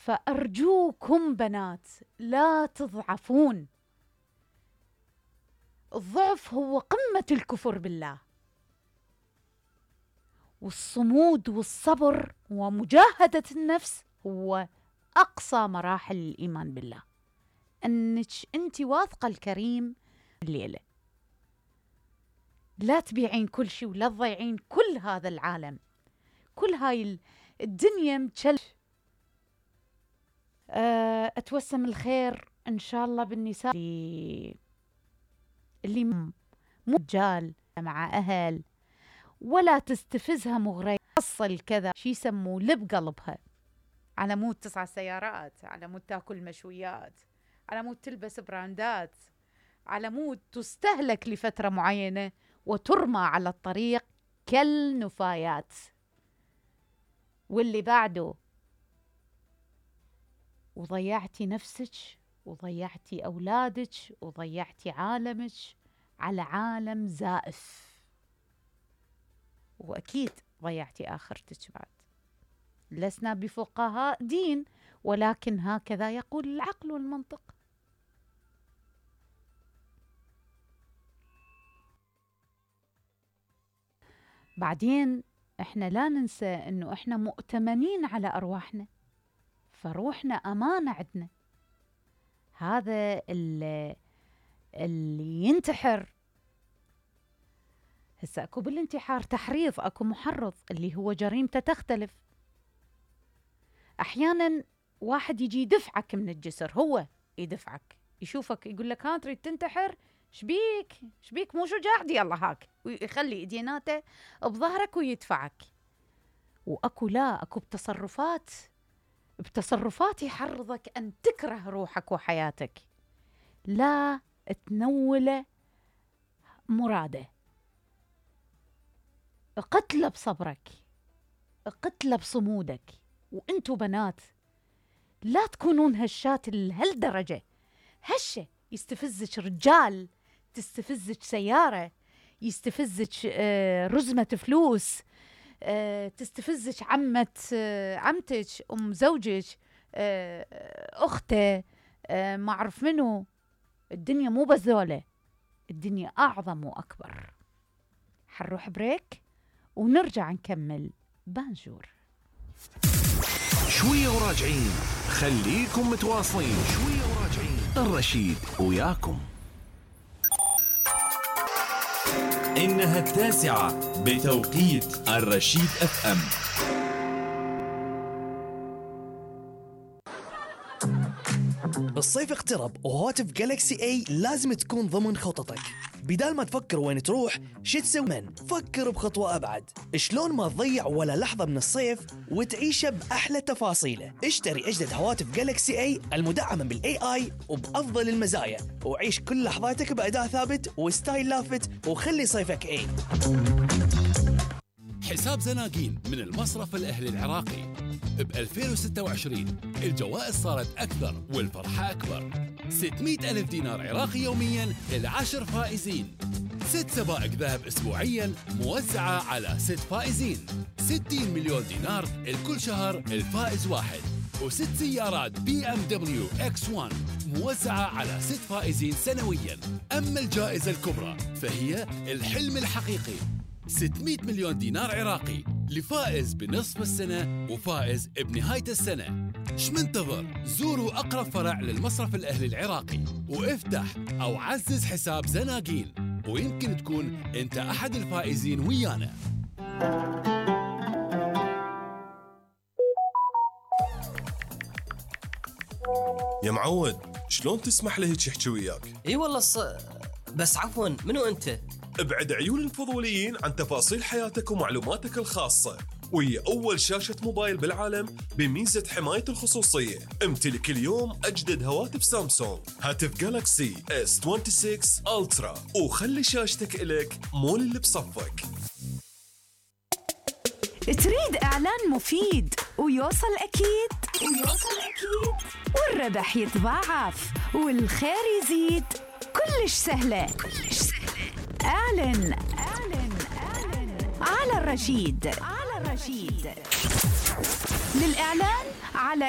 فأرجوكم بنات لا تضعفون. الضعف هو قمة الكفر بالله، والصمود والصبر ومجاهدة النفس هو أقصى مراحل الإيمان بالله. أنك أنت واثقة الكريم الليلة، لا تبيعين كل شيء ولا تضيعين كل هذا العالم، كل هاي الدنيا متشل. أتوسم الخير إن شاء الله بالنساء اللي مو رجال مع أهل، ولا تستفزها مغرية تصل كذا شي يسموه لب قلبها، على مود 9 سيارات، على مود تاكل مشويات، على مود تلبس براندات، على مود تستهلك لفترة معينة وترمى على الطريق كالنفايات. واللي بعده وضيعتي نفسك وضيعتي أولادك وضيعتي عالمك على عالم زائف، وأكيد ضيعتي آخرتك بعد. لسنا بفقهاء دين، ولكن هكذا يقول العقل والمنطق. بعدين احنا لا ننسى انه احنا مؤتمنين على ارواحنا، فروحنا امانة عندنا. هذا اللي ينتحر، هسه اكو بالانتحار تحريض، اكو محرض اللي هو جريمته تختلف. احيانا واحد يجي يدفعك من الجسر، هو يدفعك، يشوفك يقول لك ها تريد تنتحر، شبيك مو شجاع، دي الله هاك، ويخلي ايديناته بظهرك ويدفعك. واكو لا، اكو بتصرفات يحرضك ان تكره روحك وحياتك، لا تنول مراده. اقتله بصبرك، اقتله بصمودك. وانتو بنات لا تكونون هشات لهالدرجة. هشة يستفزك رجال، تستفزك سيارة، يستفزك رزمة فلوس، تستفزك عمتك، أم زوجك، أخته، ما أعرف منو. الدنيا مو بذولة، الدنيا أعظم وأكبر. حنروح بريك ونرجع نكمل بانجور. شوية وراجعين، خليكم متواصلين. شوية وراجعين، الرشيد وياكم. إنها 9 بتوقيت الرشيد FM. الصيف اقترب وهواتف جالكسي اي لازم تكون ضمن خططك. بدال ما تفكر وين تروح شو تسوي، فكر بخطوة أبعد. شلون ما تضيع ولا لحظة من الصيف وتعيشه بأحلى تفاصيله. اشتري أجدد هواتف جالكسي اي المدعمة بالاي اي وبأفضل المزايا، وعيش كل لحظاتك بأداء ثابت وستايل لافت، وخلي صيفك اي. حساب زناقين من المصرف الأهلي العراقي. ب 2026 الجوائز صارت أكثر والفرحة أكبر. 600,000 دينار عراقي يومياً ل10 فائزين، 6 سبائك ذهب أسبوعياً موزعة على 6 فائزين، 60 مليون دينار لكل شهر الفائز واحد، و6 سيارات BMW X1 موزعة على 6 فائزين سنوياً. أما الجائزة الكبرى فهي الحلم الحقيقي، 600 مليون دينار عراقي لفائز بنصف السنة وفائز بنهاية السنة. شمنتظر؟ زوروا أقرب فرع للمصرف الأهلي العراقي وافتح أو عزز حساب زناقين، ويمكن تكون أنت أحد الفائزين ويانا. يا معود، شلون تسمح له هيك يحكي وياك؟ اي والله بس عفوا، منو انت؟ ابعد عيون الفضوليين عن تفاصيل حياتك ومعلوماتك الخاصة، وهي أول شاشة موبايل بالعالم بميزة حماية الخصوصية. امتلك اليوم أجدد هواتف سامسونج، هاتف جالكسي S26 ألترا، وخلي شاشتك إلك مو اللي بصفك. تريد إعلان مفيد ويوصل أكيد والربح يتضاعف والخير يزيد، كلش سهلة. اعلن على الرشيد. للإعلان على